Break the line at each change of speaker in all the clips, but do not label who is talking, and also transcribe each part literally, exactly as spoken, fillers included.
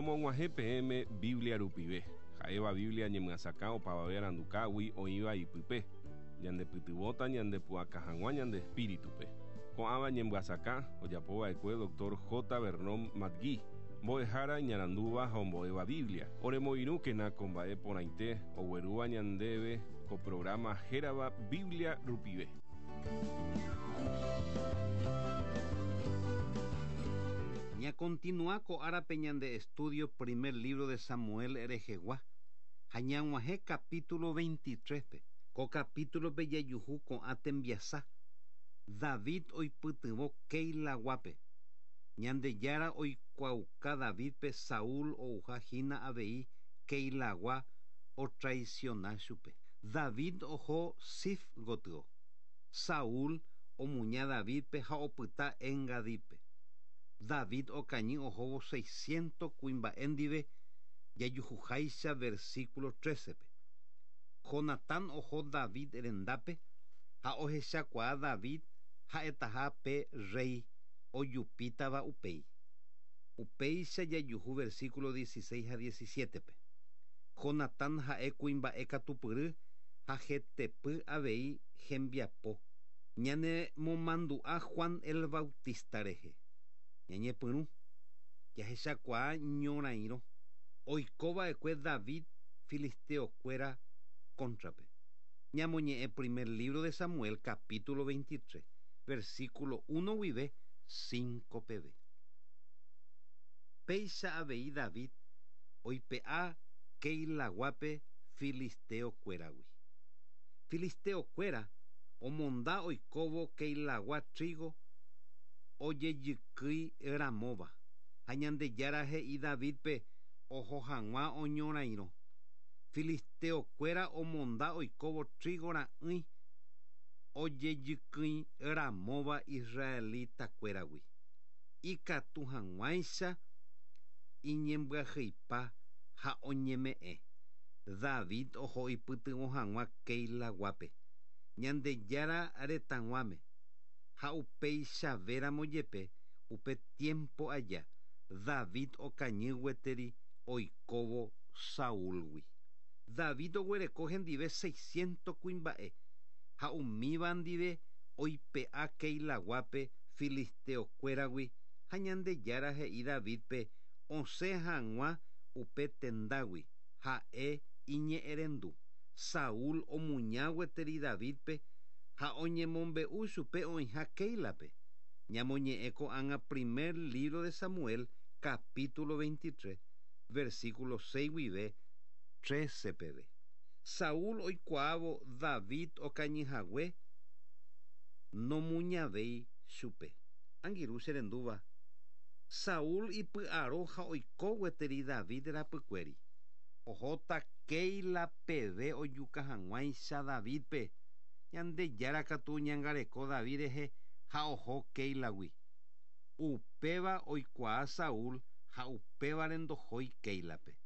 Romog̃uahẽ peẽme Biblia rupive. Ha'éva Biblia ñemyasakã opavave arandukágui oĩva ipype. Ñandepytyvõta ñandepu'aka hag̃ua ñande espíritupe. Ko'ãva ñemyasakã ojapova'ekue doctor J. Vernon McGee, mbo'ehára iñarandúva ha ombo'éva Biblia. Oremoirũkena ko mba'e porãite oguerúva ñandéve ko programa hérava Biblia rupive.
Ña continúa ko árape ñande estudio primer libro de Samuel rehegua. Ha ñag̃uahẽ capítulo veintitrés pe. Ko capítulo pe jajuhu ko'ã tembiasa. David oipytyvõ Keilaguápe. Ñandejára oikuaauka Davidpe Saúl ouha hína avei Keilagua otraiciona chupe. David oho Zif gotyo. Saúl omuña Davidpe ha opyta Engadípe. David okañy ohóvo seiscientos kuimba'e ndive jajuhuháicha versículo trece-pe. Jonatán oho David rendápe ha ohechakuaa David ha'etaha pe rey ojupítava upéi. Upéicha jajuhu versículo dieciséis ha diecisiete-pe. Jonatán ha'e kuimba'e katupyry ha hetepy avei hembiapo. Ñanemomandu'a Juan el Bautista rehe. Ñañepyrũ jahechakuaa ñorairõ oikova'ekue David filisteokuéra cóntrape. Ñamoñe'ẽ primer libro de Samuel capítulo veintitrés, versículo uno guive cinco peve. Péicha avei David oipe'a Keilaguápe filisteokuéragui. Filisteokuéra omonda oikóvo Keilagua trigo ojejykýi ramóva. Ha Ñandejára he'i Davidpe oho hag̃ua oñorairõ. Filisteokuéra omonda oikóvo trigo ra'ỹi ojejykýi ramóva israelitakuéragui. Ikatu hag̃uáicha iñembyahýipa ha oñeme'ẽ. David oho ipytyvõ hag̃ua Keilaguápe. Ñandejára retãguáme. Ha upéichavéramo jepe upe tiempo aja David okañy gueteri oikóvo Saúlgui. David oguereko hendive seiscientos kuimba'e ha umíva ndive oipe'a Keilaguápe filisteokuéragui ha Ñandejára he'i Davidpe osẽ hag̃ua upe tendágui ha'e iñe'ẽrendu. Saúl omuña gueteri Davidpe ha oñemombe'u chupe oĩha Keilape. Ñamoñe'ẽ ko'ág̃a primer libro de Samuel capítulo veintitrés, versículo seis guive trece peve. Saúl oikuaávo David okañyhague nomuñavéi chupe. Angirũ cherendúva. Saúl ipy'aro ha oiko gueteri David rapykuéri. Ohóta Keila peve ojuka hag̃uáicha Davidpe. Ñandejára katu oñangareko David rehe ha oho Keilagui. Upéva oikuaa Saúl ha upévare ndohói Keilape.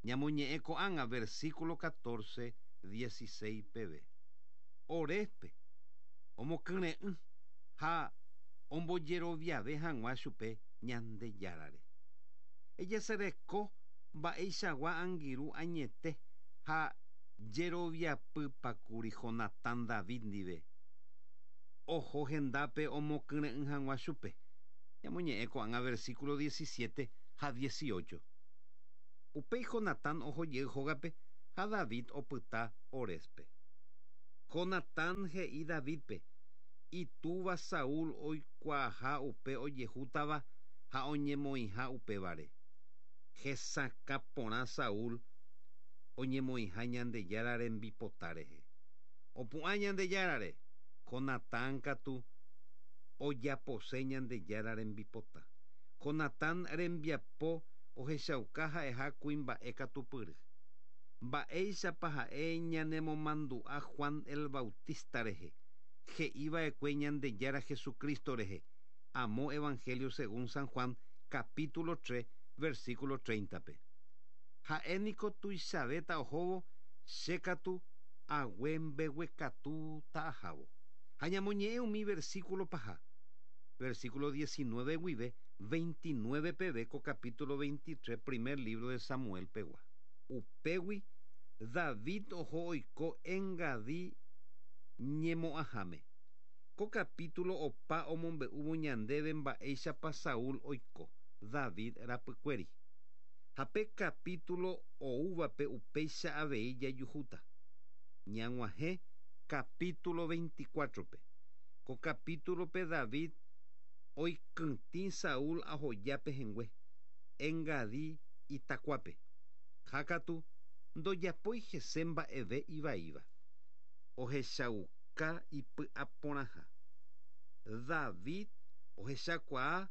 Ñamoñe'ẽ ko'ág̃a versículo catorce, dieciséis peve. Orespe omokyre'ỹ ha ombojeroviave hag̃ua chupe Ñandejárare. Ejesereko mba'eichagua angirũ añete ha jeroviapypakuri Jonatán David ndive. Oho hendápe omokyre'ỹ hag̃ua chupe. Ñamoñe'ẽ ko'ág̃a versículo diecisiete ha dieciocho. Upéi Jonatán oho jey hógape ha David opyta Orespe. Jonatán he'i Davidpe itúva Saúl oikuaaha upe ojehútava ha oñemoĩha upévare. Hesakã porã Saúl oñemoĩha Ñandejára rembipota rehe. Opu'ã Ñandejárare. Jonatán katu ojapose Ñandejára rembipota. Jonatán rembiapo ohechauka ha'eha kuimba'e katupyry. Mba'éichapa ha'e ñanemomandu'a Juan el Bautista rehe. He'iva'ekue Ñandejára Jesucristo rehe. Amo Evangelio según San Juan capítulo tres, versículo treinta-pe. Ha'e niko tuichavéta ohóvo che katu ague mbeguekatu ta'ahávo. Ha ñamoñe'ẽ umi versículo paha. Versículo diecinueve guive veintinueve peve ko capítulo veintitrés primer libro de Samuel pegua. Upégui David oho oiko Engadí ñemo'ãháme. Ko capítulo opa omombe'úvo ñandéve mba'éichapa Saúl oiko David rapykuéri. Ha pe capítulo oúvape upéicha avei jajuhúta. Ñag̃uahẽ capítulo veinticuatro-pe. Ko capítulo-pe David oikytĩ Saúl ahoja pehẽngue Engadí itakuápe. Ha katu ndojapói hese mba'eve ivaíva. Ohechauka ipy'aporãha. David ohechakuaa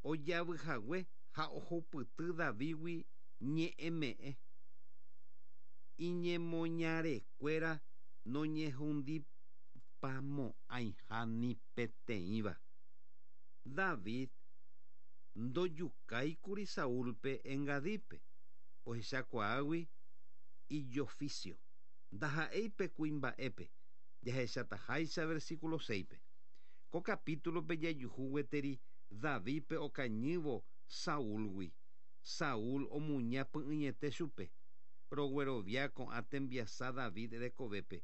ojavyhague ha ohupyty Davídgui ñe'ẽme'ẽ. Iñemoñarekuéra noñehundipamo'ãiha ni peteĩva. David ndojukáikuri Saúlpe Engadípe ohechakuaágui ijoficio. Ndaha'éi pe kuimba'épe jahechataháicha versículo seis-pe. Ko capítulo-pe jajuhu gueteri Davídpe okañývo Saúlgui. Saúl omuña py'ỹiete chupe. Roguerovia ko'ã tembiasa David rekovépe.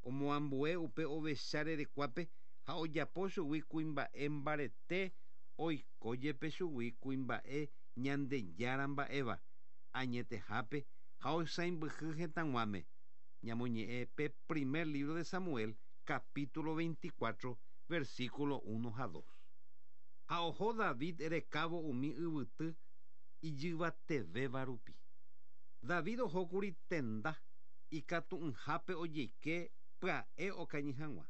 Omoambue upe ovecha rerekuápe ha ojapo chugui kuimba'e mbarete oiko jepe chugui kuimba'e Ñandejára mba'éva añetehápe ha oisãmbyhy hetãguáme. Ñamoñe'ẽ pe primer libro de Samuel capítulo veinticuatro versículo uno ha dos. Ha oho David rekávo umi yvyty ijyvatevéva rupi. David ohókuri tenda ikatu'ỹhápe ojeike pya'e okañy hag̃ua.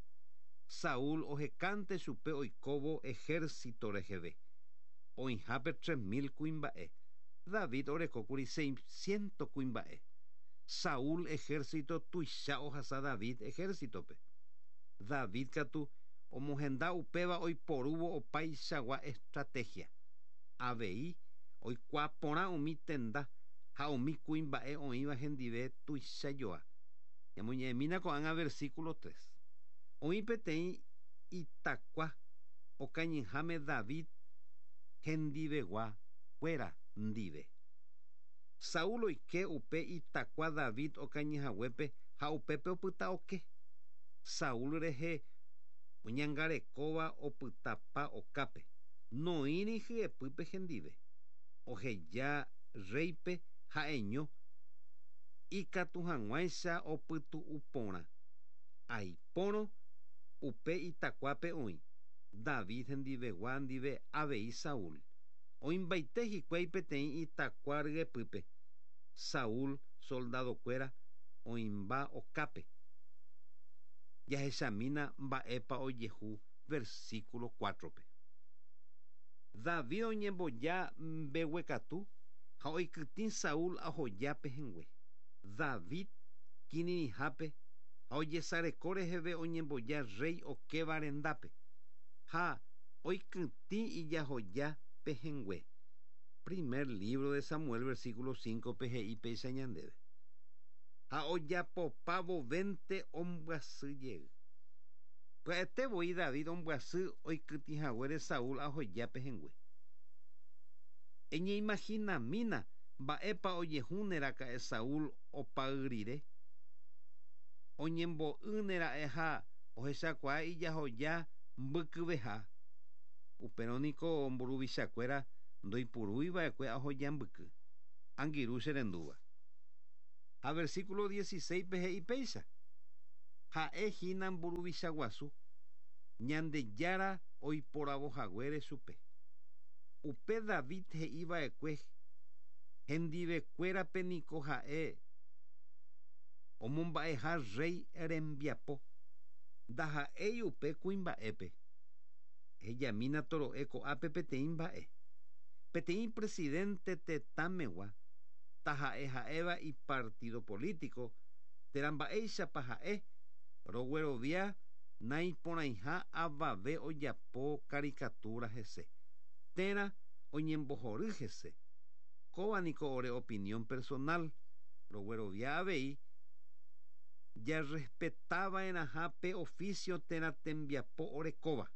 Saúl ohekánte chupe oikóvo ejército reheve. Oĩhápe tres mil kuimba'e. David orekókuri seiscientos kuimba'e. Saúl ejército tuicha ohasa David ejércitope. David katu omohenda upéva oiporúvo opaichagua estrategia. Avei oikuaa porã umi tenda ha umi kuimba'e oĩva hendive tuichajoa. Ñamoñe'ẽmína ko'ág̃a versículo tres. Oĩ peteĩ itakua okañyháme David hendivegua kuéra ndive. Saúl oike upe itakua David okañyhaguépe ha upépe opyta oke. Saúl rehe oñangarekóva opytapa okápe. Noĩri hyepýpe hendive. Oheja rréipe ha'eño ikatu hag̃uáicha opytu'u porã. Aipórõ upe itakuápe oĩ David hendivegua ndive avei Saúl. Oĩmbaite hikuái peteĩ itakua ryepýpe. Saúl soldadokuéra oĩmba okápe. Jahechamína mba'épa ojehu versículo cuatro-pe. David oñemboja mbeguekatu ha oikytĩ Saúl ahoja pehẽngue. David kirirĩhápe ha ojesareko reheve oñemboja rey okéva rendápe ha oikytĩ ijahoja pehẽngue. Primer libro de Samuel versículo cinco-pe he'i péicha ñandéve. Ha ojapopa vovénte ombyasy jey. Pya'ete voi David ombyasy oikytĩhaguére Saúl ahoja pehẽngue. Eñeimaginamína mba'épa ojehúneraka'e Saúl opay rire. Oñembo'ýnera'e ha ohechakuaa ijahoja mbykyveha. Upérõ niko mburuvichakuéra ndoipuruiva'ekue ahoja mbyky. Angirũ che rendúva. Ha versículo dieciséis-pe he'i péicha. Ha'e hína mburuvicha guasu Ñandejára oiporavohaguére chupe. Upe David he'iva'ekue hendivekuérape niko ha'e omomba'eha rey rembiapo ndaha'éi upe kuimba'épe. Hejamína toro'e ko'ápe peteĩ mba'e. Peteĩ presidente tetãmegua taha'e ha'éva ipartido político térã mba'éichapa ha'e roguerovia naiporãiha avave ojapo caricatura hese térã oñembohory hese. Kóva niko ore opinión personal roguerovia avei jarrespetava'erãha pe oficio térã tembiapo orekóva.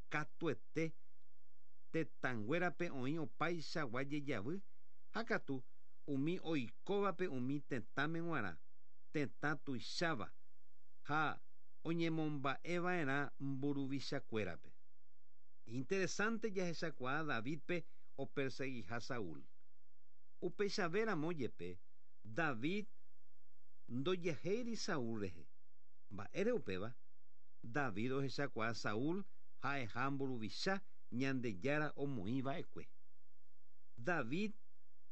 Katuete Tetãnguérape oĩ opaichagua jejavy ha katu umi oikóvape umi tetãme g̃uarã tetã tuicháva ha oñemomba'eva'erã mburuvichakuérape. Interesante jahechakuaa Davidpe operseguiha Saúl. Upeichavéramo jepe David ndojahéiri Saúl rehe. Mba'ére upéva David ohechakuaa Saúl ha'eha mburuvicha Ñandejára omoĩva'ekue. David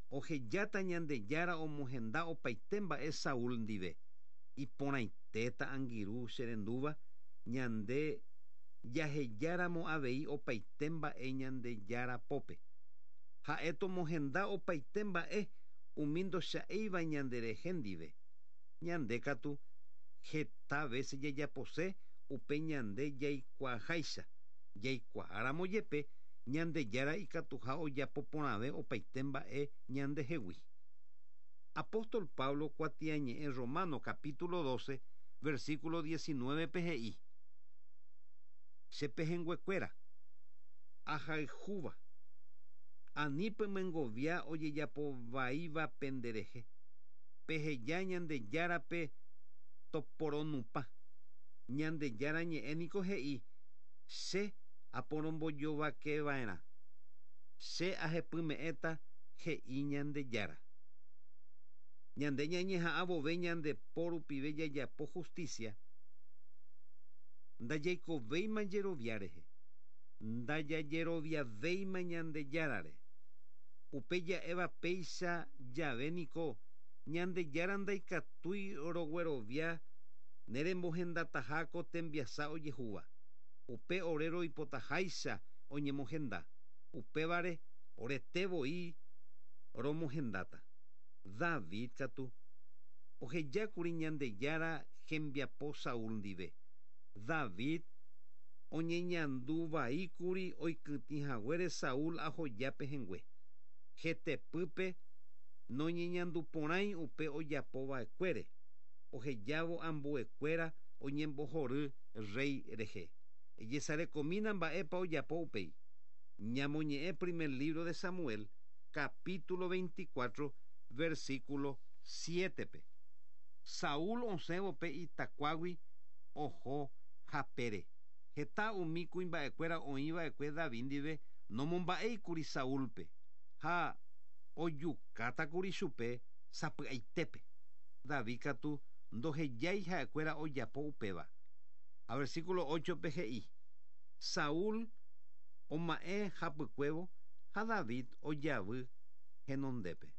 ohejáta Ñandejára omohenda opaite mba'e Saúl ndive. Iporãitéta angirũ cherendúva ñande jahejáramo avei opaite mba'e Ñandejára pópe. Ha'e tomohenda opaite mba'e umi ndocha'éiva ñanderehe ndive. Ñande katu heta veces jajapose upe ñande jaikuaaháicha. Jaikuaáramo jepe Ñandejára ikatuha ojapo porãve opaite mba'e ñandehegui. Apóstol Pablo kuatiañe'ẽ Romano capítulo doce versículo diecinueve pe he'i: Che pehẽnguekuéra ahayhúva ani pemyengovia ojejapovaíva penderehe. Peheja Ñandejárape toporonupã. Ñandejára ñe'ẽ niko he'i: Che aporombojovakeva'erã. Che ahepyme'ẽta he'i Ñandejára. Ñande ñañeha'ãvove ñande po rupive jajapo justicia. Ndajaikovéima jerovia rehe. Ndajajeroviavéima Ñandejárare. Upe ja'éva péicha jave niko Ñandejára ndaikatúi roguerovia nerembohendataha ko tembiasa ojehúva. Upe ore roipotaháicha oñemohenda. Upévare orete voi romohendáta. David katu ohejákuri Ñandejára hembiapo Saúl ndive. David oñeñanduvaíkuri oikytĩhaguére Saúl ahoja pehẽngue. Hetepýpe noñeñanduporãi upe ojapova'ekuére. Ohejávo ambuekuéra oñembohory rey rehe. Ejesarekomína mba'épa ojapo upéi. Ñamoñe'ẽ primer libro de Samuel, capítulo veinticuatro, versículo siete. Saúl osẽvo pe itakuágui oho hapére. Heta umi kuimba'ekuéra oĩva'ekue David ndive nomomba'éikuri Saúlpe ha ojukátakuri chupe sapy'aitépe. David katu ndohejái ha'ekuéra ojapo upéva. A versículo ocho pe he'i: Saúl oma'ẽ hapykuévo ha David ojavy henondépe.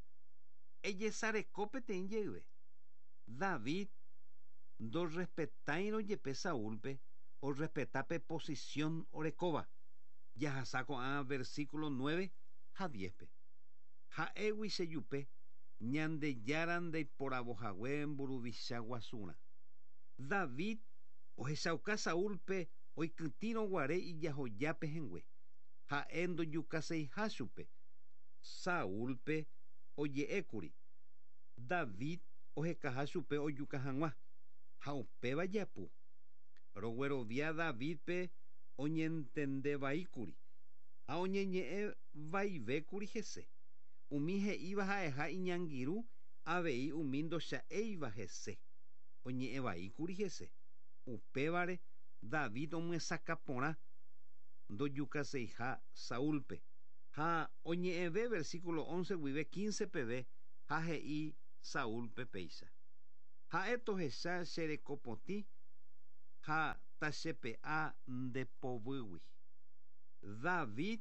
Ejesareko peteĩ jeyve. David ndorrespetáirõ jepe Saúlpe orrespeta pe posición orekóva. Jahasa ko'ã versículo nueve ha diez pe. Ha'égui chejupe Ñandejára ndeiporavohague mburuvicha guasurã. David ohechauka Saúlpe oikytĩrõ guare ijahoja pehẽngue. Ha'e ndojukaseiha chupe. Saúlpe oje'ékuri. David ohekaha chupe ojuka hag̃ua. Ha upéva japu. Roguerovia Davidpe oñentendevaíkuri ha oñeñe'ẽvaivékuri hese. Umi he'íva ha'eha iñangirũ avei umi ndocha'éiva hese. Oñe'ẽvaíkuri hese. Upévare David omyesakã porã ndojukaseiha Saúlpe. Ha oñe'ẽve versículo once guive quince peve ha he'i Saúlpe péicha. Ha'e tohecha cherekopotĩ ha tachepe'a ndepovyýgui. David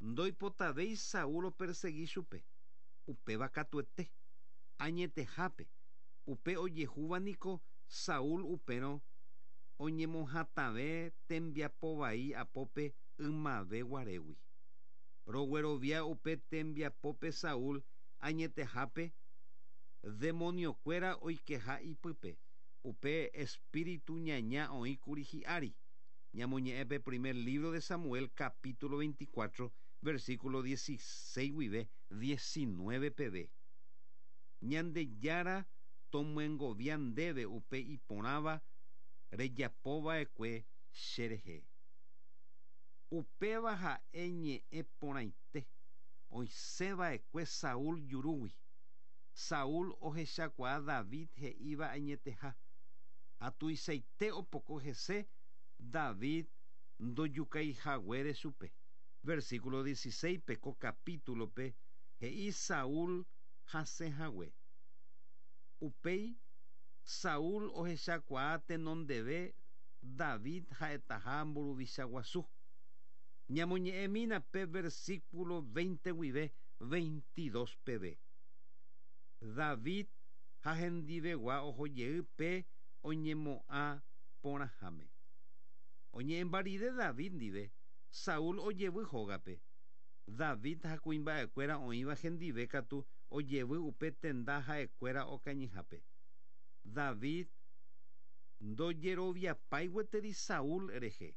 ndoipotavéi Saúl opersegui chupe. Upéva katuete. Añetehápe. Upe ojehúva niko Saúl upérõ oñemohatãve tembiapovai apópe ymave guarégui. Roguerovia upe tembiapópe Saúl añetehápe demoniokuéra oikeha ipype. Upe espíritu ñaña oĩkuri hi'ári. Ñamoñe'ẽpe primer libro de Samuel capítulo veinticuatro versículo dieciséis guive diecinueve peve. Ñandejára tomyengovia ndéve upe iporãva rejapova'ekue cherehe. Upéva ha'e ñe'ẽ porãite oisẽva'ekue Saúl jurúgui. Saúl ohechakuaa David he'íva añeteha. Ha tuichaite opoko hese David ndojukaihaguére chupe. Versículo dieciséis pe ko capítulo pe he'i Saúl hasẽhague. Upéi Saúl ohechakuaa tenondeve David ha'etaha mburuvicha guasu. Ñamoñe'ẽmína pe versículo veinte guive veintidós peve. David ha hendivegua ohojey pe oñemo'ã porãháme. Oñe'ẽmba rire David ndive, Saúl ojevy hógape. David ha kuimba'ekuéra oĩva hendive katu ojevy upe tenda ha'ekuéra okañyhápe. David ndojeroviapái gueteri Saúl rehe.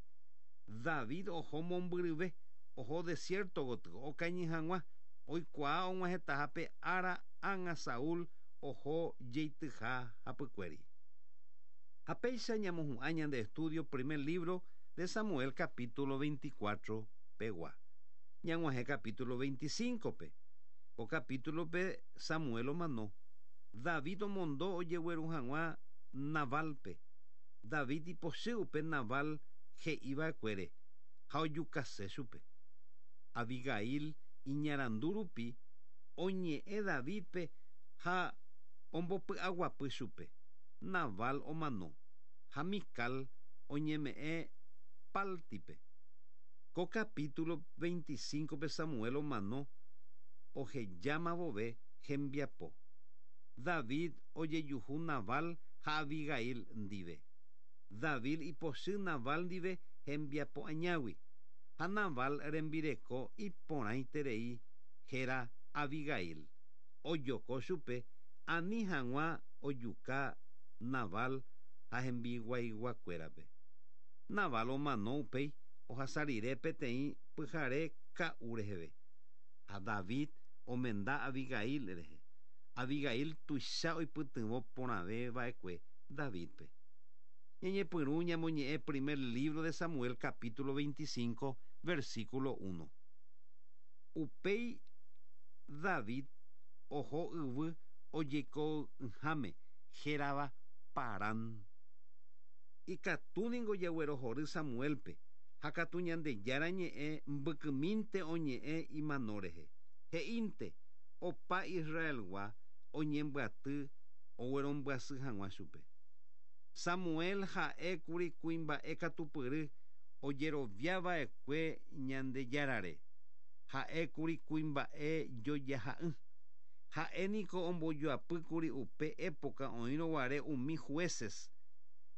David oho mombyryve, oho desierto gotyo okañy hag̃ua, oikuaa og̃uahẽtahápe ára ág̃a Saúl oho jeityha hapykuéri. Ha péicha ñamohu'ã ñande estudio primer libro de Samuel capítulo veinticuatro pegua. Ñag̃uahẽ capítulo veinticinco pe. Ko capítulo pe Samuel omano. David omondo ojegueru hag̃ua Nabalpe. David ipochy upe Nabal he'iva'ekuére ha ojukase chupe. Abigail iñarandu rupi oñe'ẽ Davidpe ha ombopy'aguapy chupe. Nabal omano ha Mical oñeme'ẽ Páltipe. Ko capítulo veinticinco pe Samuel omano ohejáma vove hembiapo. David ojejuhu Nabal ha Abigail ndive. David ipochy Nabal ndive hembiapo añágui. Ha Nabal rembireko iporãiterei héra Abigail. Ojoko chupe ani hag̃ua ojuka Nabal ha hembiguaiguakuérape. Nabal omano upéi ohasa rire peteĩ pyhare ka'u reheve. Ha David omenda Abigail rehe. Abigail tuicha oipytyvõ porãve va'ekue Davidpe. Ñañepyrũ ñamoñe'ẽ primer libro de Samuel capítulo veinticinco versículo uno. Upéi David oho yvy ojeiko'ỹháme hérava Parán. Ikatúningo jaguerohory Samuelpe ha katu Ñandejára ñe'ẽ mbykymínte oñe'ẽ imano rehe. He'ínte opa Israelgua oñembyaty oguerombyasy hag̃ua chupe. Samuel ha'ékuri kuimba'e katupyry ojeroviava'ekue Ñandejárare. Ha'ékuri kuimba'e jojaha'ỹ. Ha'éniko ombojoapýkuri upe época oĩrõguare umi jueces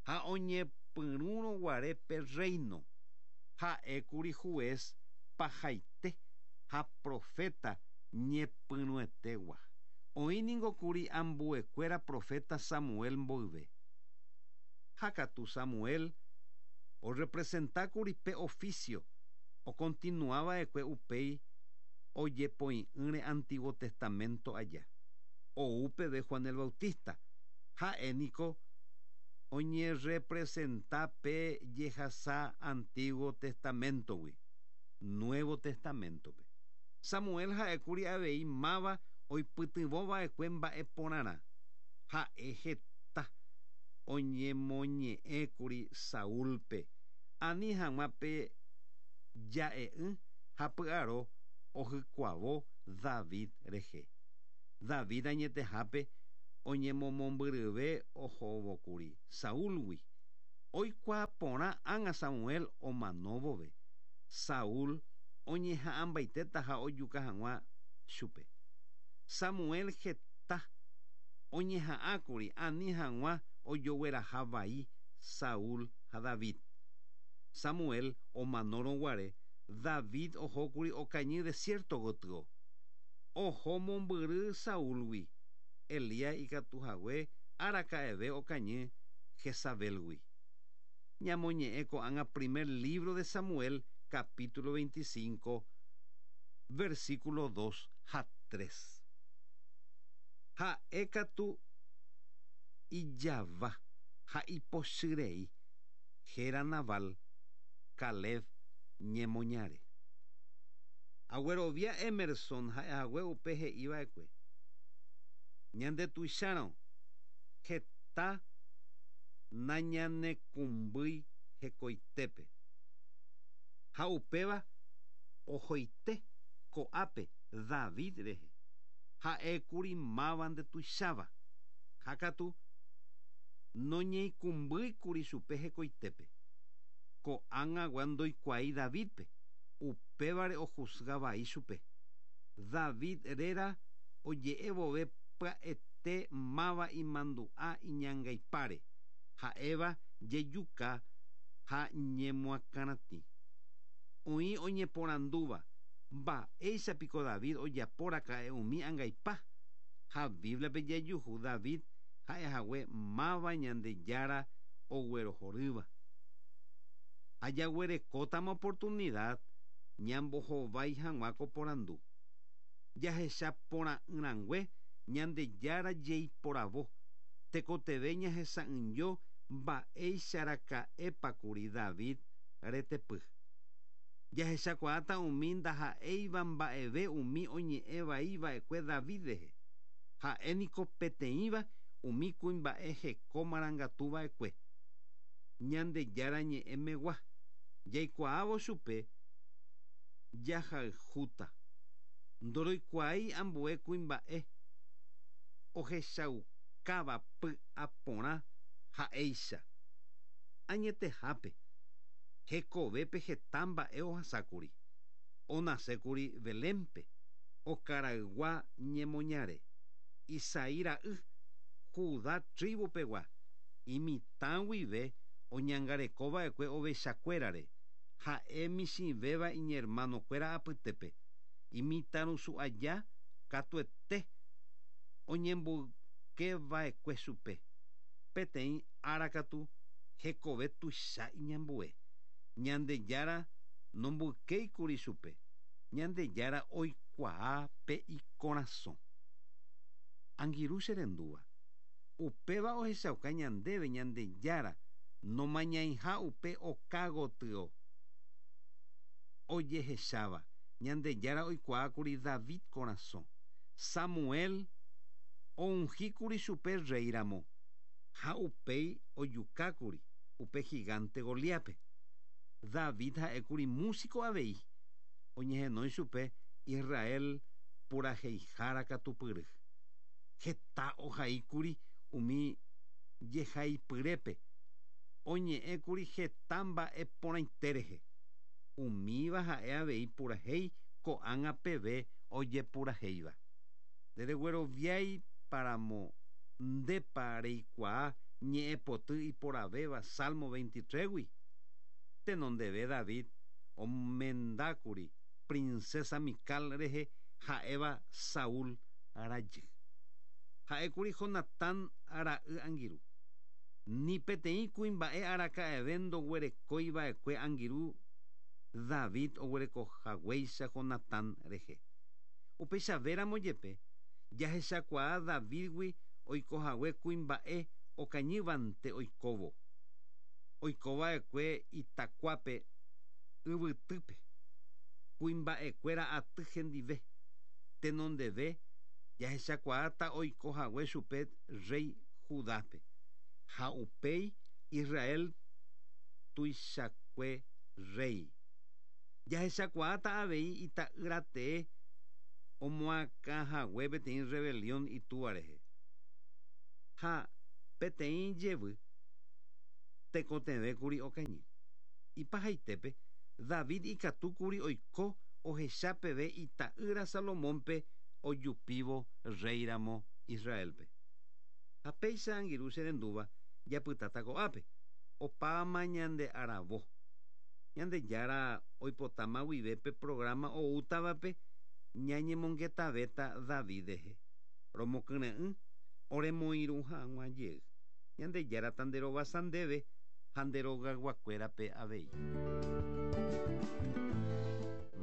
ha oñepyrũrõguare pe reino. Ha'ékuri juez pahaite ha profeta ñepyrũetegua. Oĩningokuri ambuekuéra profeta Samuel mboyve. Ha katu Samuel orepresentákuri pe oficio okontinuava'ekue upéi ojepoi'ỹre Antiguo Testamento aja. Ou peve Juan el Bautista. Ha'éniko oñerepresenta pe jehasa Antiguo Testamentogui, Nuevo Testamentope. Samuel ha'ékuri avei máva oipytyvõva'ekue mba'e porãrã. Ha'e heta oñemoñe'ẽkuri Saúlpe ani hag̃ua pe ja'e'ỹ ha py'aro ohykuavo David rehe. David añetehápe oñemomombyryve ohóvokuri Saúlgui. Oikuaa porã ág̃a Samuel omano vove. Saúl oñeha'ãmbaitétaha ojuka hag̃ua chupe. Samuel heta oñeha'ãkuri ani hag̃ua ojogueraha vai Saúl ha David. Samuel omanórõguare David ohókuri okañy desierto gotyo. Oho mombyry Saúlgui. Elías ikatuhague araka'eve okañy Jezabelgui. Ñamoñe'ẽ ko'ág̃a primer libro de Samuel capítulo veinticinco versículo dos ha tres. Ha'e katu ijava ha ipochyrei héra Nabal, Caleb ñemoñare. Aguerovia Emerson ha'ehague upe he'iva'ekue. Ñandetuichárõ heta nañanekumbýi hekoitépe. Ha upéva ohoite ko'ápe David rehe. Ha'ékuri máva ndetuicháva. Ha katu noñeikumbýikuri chupe hekoitépe. Ko'ág̃agua ndoikuaái Davidpe, upévare ojuzgavai chupe. David réra oje'evove pya'ete máva imandu'a iñangaipáre, ha'éva jejuka ha ñemoakãratĩ. Oĩ oñeporandúva mba'éichapiko David ojaporaka'e umi angaipa. Ha Bíbliape jajuhu David ha'ehague máva Ñandejára oguerohorýva. Ajaguerekótama oportunidad ñambohovái hag̃ua ko porandu. Jahechaporã'ỹrangue Ñandejára jeiporavo. Tekotevẽ ñahesa'ỹijo mba'eicharaka'épakuri David retepy. Jahechakuaáta umi ndaha'éiva mba'eve umi oñe'ẽvaiva'ekue David rehe. Ha'éniko peteĩva umi kuimba'e heko marangatuva'ekue. Ñandejára ñe'ẽmegua. Jaikuaávo chupe jahayhúta. Ndoroikuaái ambue kuimba'e ohechaukáva py'aporã ha'éicha. Añetehápe hekovépe heta mba'e ohasákuri. Onasékuri Belénpe, okaraygua ñemoñare. Isaí ra'y, Judá tribupegua, imitã guive oñangarekova'ekue ovechakuérare. Ha'e michĩvéva iñermanokuéra apytépe. Imitãrusu aja katuete oñemboykeva'ekue chupe. Peteĩ ára katu hekove tuicha iñambue. Ñandejára nomboykéikuri chupe. Ñandejára oikuaa pe ikorasõ. Angirũ che rendúva. Upéva ohechauka ñandéve Ñandejára nomañaiha upe okágotyo ojehecháva. Ñandejára oikuaákuri David korasõ. Samuel oungíkuri chupe rey ramo. Ha upéi ojukákuri upe gigante Goliápe. David ha'ékuri músico avei. Oñehenói chupe Israel puraheihára katupyry. Heta ohaíkuri umi jehaipyrépe. Oñe'ẽkuri heta mba'e porãite rehe. Umíva ha'e avei purahéi ko'ág̃a peve ojepurahéiva. Nderegueroviái paramo ndépa reikuaa ñe'ẽpoty iporavéva Salmo veintitrés-gui. Tenondeve David omendákuri princesa Mical rehe ha'éva Saúl rajy. Ha'ékuri Jonatán ra'y angirũ. Ni peteĩ kuimba'e araka'eve ndoguerekóiva'ekue angirũ David oguerekohaguéicha Jonatán rehe. Upeichavéramo jepe jahechakuaa Davidgui oikohague kuimba'e okañývante oikóvo. Oikova'ekue itakuápe yvytýpe. Kuimba'ekuéra aty hendive. Tenondeve jahechakuaáta oikohague chupe rey Judápe. Ha upéi Israel tuichakue rey. Jahechakuaáta avei ita'ýratee omoakãhague peteĩ rebelión itúva rehe. Ha peteĩ jevy tekotevẽkuri okañy. Ipahaitépe David ikatúkuri oiko ohechapeve ita'ýra Salomónpe ojupívo rey ramo Israelpe. Ha péicha angirũ che rendúva japytáta ko'ápe. Opáma ñande aravo. Ñandejára oipotáma guive pe programa oútavape ñañemongetavéta David rehe. Romokyre'ỹ oremoirũ hag̃ua jey. Ñandejára tanderovasa ndéve ha nderogayguakuérape avei.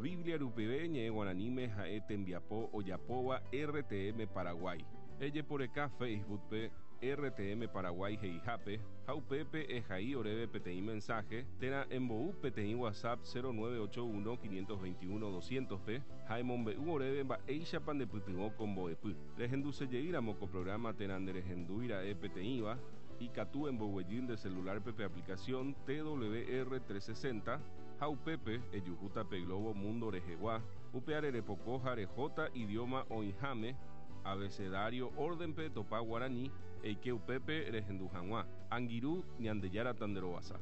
Biblia rupive ñe'ẽ guaraníme ha'e tembiapo ojapóva R T M Paraguay. Ejeporeka Facebookpe R T M Paraguay he'ihápe ha upépe ehai oréve peteĩ mensaje térã embou peteĩ WhatsApp cero nueve ocho uno quinientos veintiuno doscientos pe ha emombe'u oréve mba'éichapa ndepytyvõ ko mbo'epy. Rehendusejeýramo ko programa térã nderehendúira'e peteĩva, ikatu emboguejy nde celular pe aplicación T W R trescientos sesenta ha upépe ejuhúta pe globo mundo rehegua, upe arerepoko ha rehóta idioma oĩháme abecedario órdenpe topa guaraní eike upépe rehendu hag̃ua. Angirũ, Ñandejára tanderovasa.